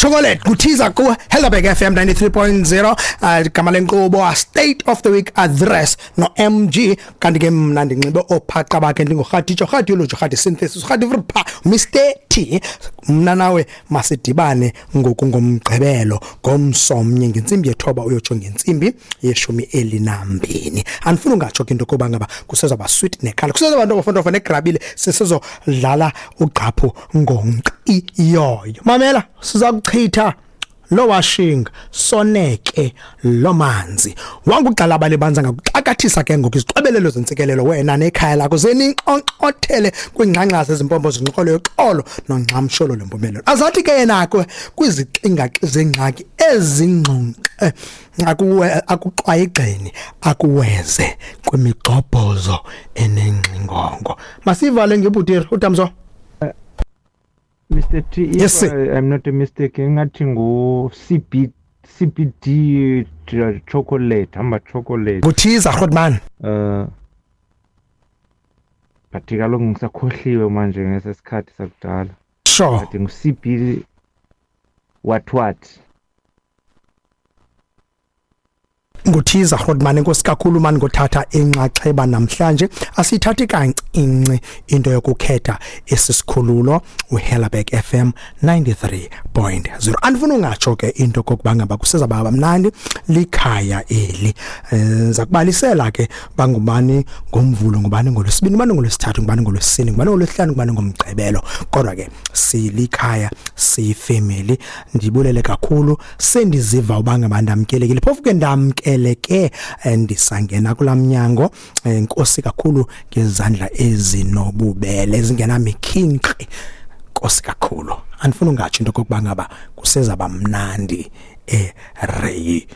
Chocolate kuthiza ku Helderberg FM 93.0, igama lenkqubo a State of the Week Address no MG. Kanti ke mna ndinxibe ophaqa bakhe, ndingurhatitsho rhadiology rhadi synthesis rhadi vrpa Mr T. Mna nawe masidibane ngoku ngomgqibelo ngomsomnye ngentsimbi yethoba uyotsho ngentsimbi yeshumi elinambini. Andifuni ungatsho ke into yokuba ngaba kusezawuba sweet nekhala, kusezawuba ntofontofo negrabile, sisezodlala ugqaphu ngonkqiyoyo. Mamela, siza kuchitha lo washing soneke lo manzi wangugxalaba lebanza ngakuxakathisa ke ngoku izixwebelelo zentsikelelo wena nekhaya lakho zeninqonqothele kwingxangxasi ezimpompo zinxolo yoxolo nongxamsholo lempumelelo. Azathi ke yena ke kwizixingaxi zengxaki ezingxonxe akuwe akuxwayigxeni akuweze kwimigxobhozo enengxingongo. Masivale ngebhutiri utamzo. Mr T, if Yes, sir. I'm not mistaken, ngathi ngu CB CBD chocolate, hamba chocolate. Kuthiza Grootman. But kaloku ngisakhohliwe manje ngesesikhathi sakudala. Sure. But ngu CB what what. Nguthiza Grootman, enkosi kakhulu mani ngothatha inxaxheba namhlanje. Asithathi kancinci into yokukhetha esisikhululo uHellerberg FM 93.0. Andifuna ungatsho ke into kokuba ngaba kusezaba mnandi likhaya eli. Zakubalisela ke bangubani ngomvulo, ngubani ngolwesibini, ngubani ngolwesithathu, ngubani ngolwesine, ngubani ngolwesihlanu, ngubani ngomgqibelo. Kodwa ke silikhaya, siyifamily. Ndibulele kakhulu, sendiziva uba ngaba ndamkelekile. Phofu ke ndamkeleke ndisangena kulaa mnyango. Nkosi kakhulu ngezandla ezinobubele ezingenamikhinkqi. Nkosi kakhulu. Andifuni ungatsho into okokuba ngaba kusezaba mnandi ereyidweni.